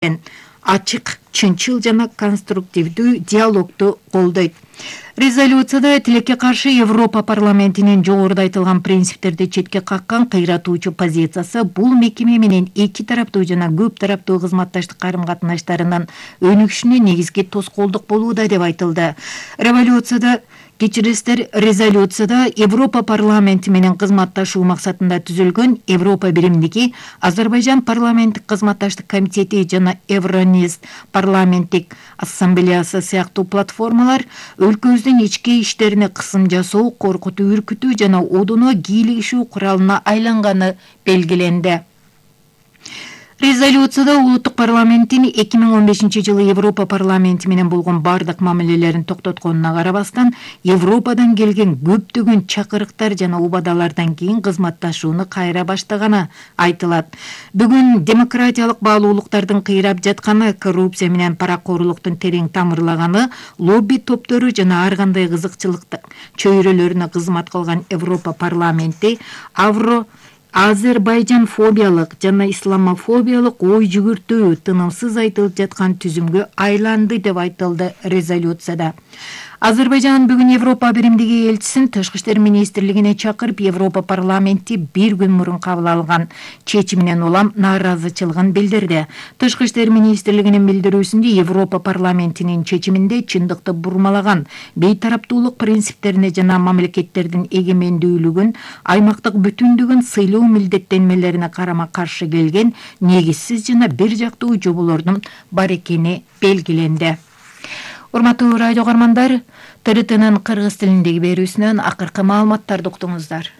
ачык, чынчыл жана конструктивдүү диалогду колдойт. Резолюцияда тилекке каршы Европа парламентинин жогоруда айтылган принциптерди четке каккан кыйратуучу позициясы бул мекеме менен эки тараптуу жана көп тараптуу кызматташтык карым-катнаштарынын өнүгүшүнө негизги тоскоолдук болууда деп айтылды. Резолюцияда Европа парламенти менен кызматташуу максатында түзүлгөн Европа биримдиги, Азербайжан парламенттик кызматташтык комитети жана Евронест парламенттик ассамблеясы сыяктуу платформалар өлкөбүздүн ички иштерине кысым жасоо, коркутуу, үркүтүү жана одуно кийлигишүү куралына айланганы белгиленди. Резолюцияда улуттук парламенттин 2015-жылы Европа парламенти менен болгон бардык мамилелерин токтотконуна карабастан, Европадан келген көптөгөн чакырыктар жана убадалардан кийин кызматташууну кайра баштаганы айтылат. Бүгүн демократиялык баалуулуктардын кыйрап жатканы, коррупция менен паракорлуктун терең тамырлаганы, лобби топтору жана ар кандай кызыкчылык чөйрөлөрүнө кызмат кылган Европа парламенти Азербайжан фобиялык жана исламофобиялык ой жүгүртүү тынымсыз айтылып жаткан түзүмгө айланды деп айтылды резолюцияда. Азербайжан бүгүн Европа биримдиги элчисин Тышкы иштер министрлигине чакырып, Европа парламенти бир күн мурун кабыл алган чечиминен улам нааразычылыгын билдирди. Тышкы иштер министрлигинин билдирүүсүндө Европа парламентинин чечиминде чындыкты бурмалаган, бейтараптуулук принциптерине жана мамлекеттердин эгемендүүлүгүн, аймактык бүтүндүгүн сыйлоо милдеттенмелерине карама-каршы келген негизсиз жана бир жактуу жоболордун бар экени белгиленди. Урматтуу радио көрөрмандар, ТРТнын кыргыз тилиндеги берүүсүнөн акыркы маалыматтарды уктуңуздар.